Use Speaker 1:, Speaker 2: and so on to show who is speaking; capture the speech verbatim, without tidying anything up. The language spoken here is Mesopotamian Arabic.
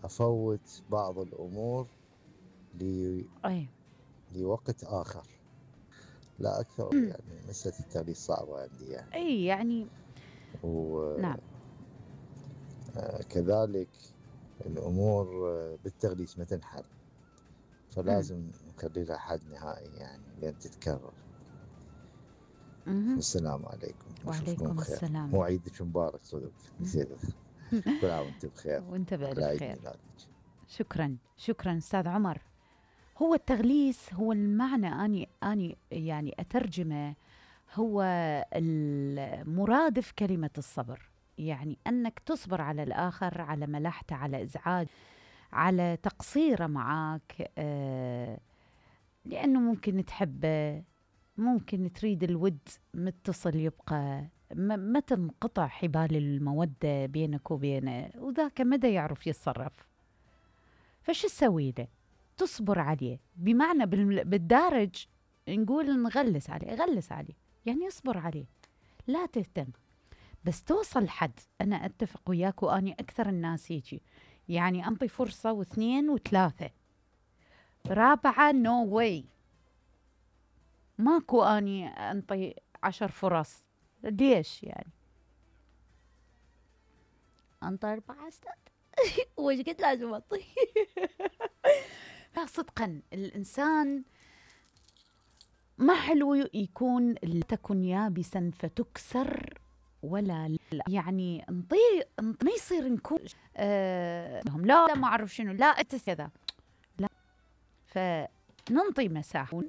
Speaker 1: افوت بعض الامور ل
Speaker 2: اي
Speaker 1: لوقت اخر لا اكثر. يعني مسألة التغليس صعبة عندي يعني.
Speaker 2: اي يعني نعم.
Speaker 1: وكذلك الامور بالتغليس ما تنحل،
Speaker 2: مم.
Speaker 1: فلازم نخلي لها حد نهائي يعني لين تتكرر.
Speaker 2: مهم.
Speaker 1: والسلام عليكم واشوفكم
Speaker 2: وعليكم
Speaker 1: بخير،
Speaker 2: السلام.
Speaker 1: وعيدك مبارك صدق نسيت. كل عام وانت بخير
Speaker 2: وانت
Speaker 1: على
Speaker 2: بألف
Speaker 1: عيد
Speaker 2: خير.
Speaker 1: ميلادك.
Speaker 2: شكرا شكرا أستاذ عمر. هو التغليس هو المعنى، أني أني يعني أترجمه، هو المرادف كلمة الصبر. يعني أنك تصبر على الآخر، على ملحته، على إزعاج، على تقصيره معك، آه لأنه ممكن تحبه، ممكن تريد الود متصل يبقى، ما تنقطع حبال المودة بينك وبينه، وذاك مدى يعرف يتصرف. فش تسوي له؟ تصبر عليه، بمعنى بالدارج نقول نغلس عليه، غلس عليه يعني اصبر عليه، لا تهتم. بس توصل حد، أنا أتفق وياك وأني أكثر الناس يجي، يعني أنطي فرصة واثنين وثلاثة، رابعة نو no واي، ماكو أني أنطي عشر فرص. ليش يعني؟ أنطي أربعة أستاذ وش قد لازم أنطي؟ لا صدقا الإنسان ما حلو يكون لا تكن يابسا فتكسر، ولا لا يعني انطي ما يصير نكون آه لا لا ما أعرف شنو، لا أتس كذا، لا. فننطي مساحة